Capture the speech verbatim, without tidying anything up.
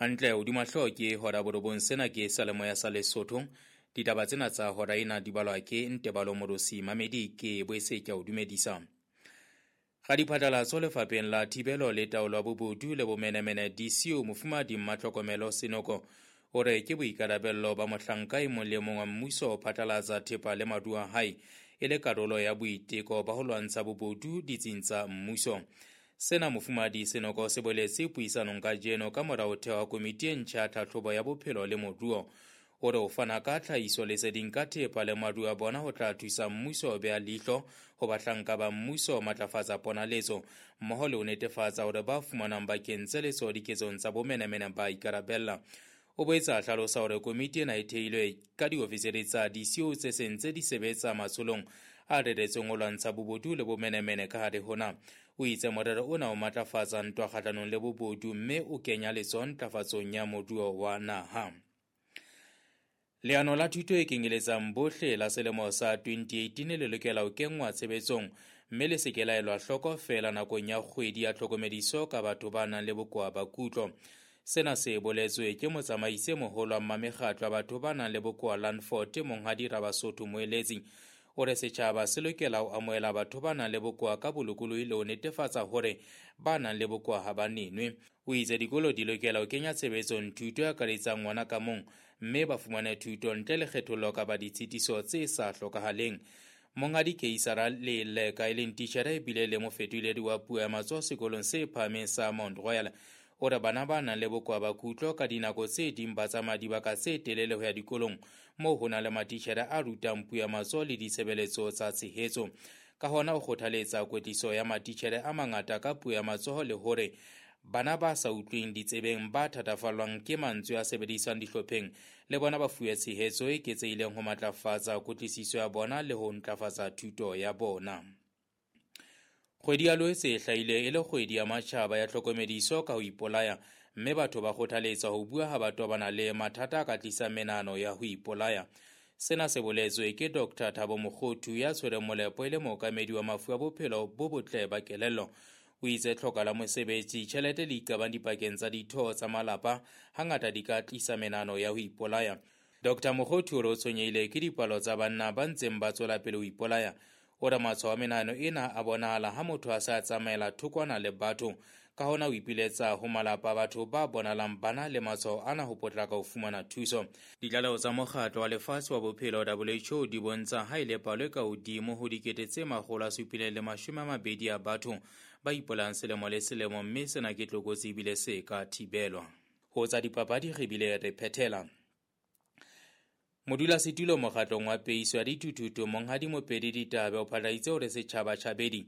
Hantle hodima hlooho ke hora borobong, sena ke seyalemoya sa Lesotho. Ditaba tsena tsa hora ena di balwa ke Ntebalo Morosi Mamedi, ke boetse ke a o dumedisa. Radiphatlalatso lefapheng la thibelo le taolo ya bobodu le bomenemene D C O Mofumahadi Mmatlhokomelo Senoko o re ke boikarabello ba mohlanka e mong le mong wa mmuso ho phatlalatsa thepa le maruo a hae e le karolo ya boiteko ba ho lwantsha bobodu ditsing tsa mmuso. Sena Mofumahadi Senoko se boletse puisanong kajeno ka mora ho theha komiti e ntjha ya tlhahlobo ya bophelo le moruo. O re ho fana ka tlhahiso leseding ka thepa le maruo a bona ho tla thusa mmuso ho beha leihlo ho bahlanka ba mmuso ho matlafatsa ponaletso mmoho le ho netefatsa hore ba fumanang ba kentse letsoho diketsong tsa bomenemene ba ikarabella. O boetse a hlalosa hore komiti ena e theilwe ka diofisiri tsa D C O tse seng tse di sebetsa matsholong a reretsweng ho lwantsha bobodu le bomenemene ka hare ho naha. O itse morero ona o matlafatsa ntwa kgahlanong le bobodu mme o kenya letsoho ntlafatsong ya moruo wa naha. Leano la thuto e kenyeletsang bohle la selemo sa twenty eighteen le lokela ho kenngwa tshebetsong mme le se ke la elwa hloko feela nakong ya kgwedi ya tlhokomediso ka batho ba nang le bokowa ba kutlo. Sena se boletswe ke motsamaisi e moholo wa mmamekgatlo wa batho ba nang le bokowa Landford, Monghadi Rabasotho Moeletsi. O re setjhaba se lokela ho amohela batho ba nang le bokowa ka bolokolohi le ho netefatsa hore ba nang le bokowa ha ba nenwe. O itse dikolo di lokela ho kenya tshebetsong thuto e akaretsang ngwana ka mong mme ba fumane thuto ntle le kgethollo kapa ditshitiso tse sa hlokahaleng. Monghadi Keisara Leleka e leng titjhere ebile le mofetoledi wa puo ya matsoho sekolong se phahameng sa Mount Royal o re bana ba nang le bokowa ba kutlo ka dinako tse ding ba tsamaya dibaka tse telele ho ya dikolong moo ho nang le matitjhere a rutang puo ya matsoho le ditshebeletso tsa tshehetso. Ka hona o kgothaletsa kwetliso ya matitjhere a mangata ka puo ya matsoho le hore bana ba sa utlweng ditsebeng ba thatafallwang ke mantswe a sebediswang dihlopheng le bona ba fuwe tshehetso e eketsehileng ho matlafatsa kutlwisiso ya bona le ho ntlafatsa thuto ya bona. Kgwedi ya Loetse e hlahile e le kgwedi ya matjhaba ya tlhokomediso ka ho ipolaya mme batho ba kgothaletswa ho bua ha ba tobana le mathata a ka tlisang menahano ya ho ipolaya. Sena se boletswe ke Doctor Thabo Mokgothu ya tshwereng molepo e le mookamedi wa mafu a bophelo bo botle ba kelello. O itse tlhoka la mosebetsi, tjhelete le iqabang dipakeng tsa ditho tsa malapa hangata di ka tlisa menahano ya ho ipolaya. Doctor Mokgothu o re o tshwenyehile ke dipalo tsa banna ba ntseng ba tswela pele ho ipolaya. O re matshwao a menahano ena a bonahala ha motho a sa tsamaela thokwana le batho. Ka hona o ipiletsa ho malapa a batho ba bonahalang ba na le matshwao ana ho potlaka ho fumana thuso. Ditlaleho tsa mokgatlo wa lefatshe wa bophelo W H O di bontsha ha e le palo e ka hodimo ho dikete tse makgolo a supileng le mashome a mabedi a batho ba ipolayang selemo le selemo mme sena ke tlokotsi ebile se ka thibelwa. Ho tsa dipapadi re bile re phethela. Modulasetulo mokgatlong wa peiso ya dithuthuthu Monghadi Mopedi Ditabe o phatlaladitse hore setjhaba tjhabedi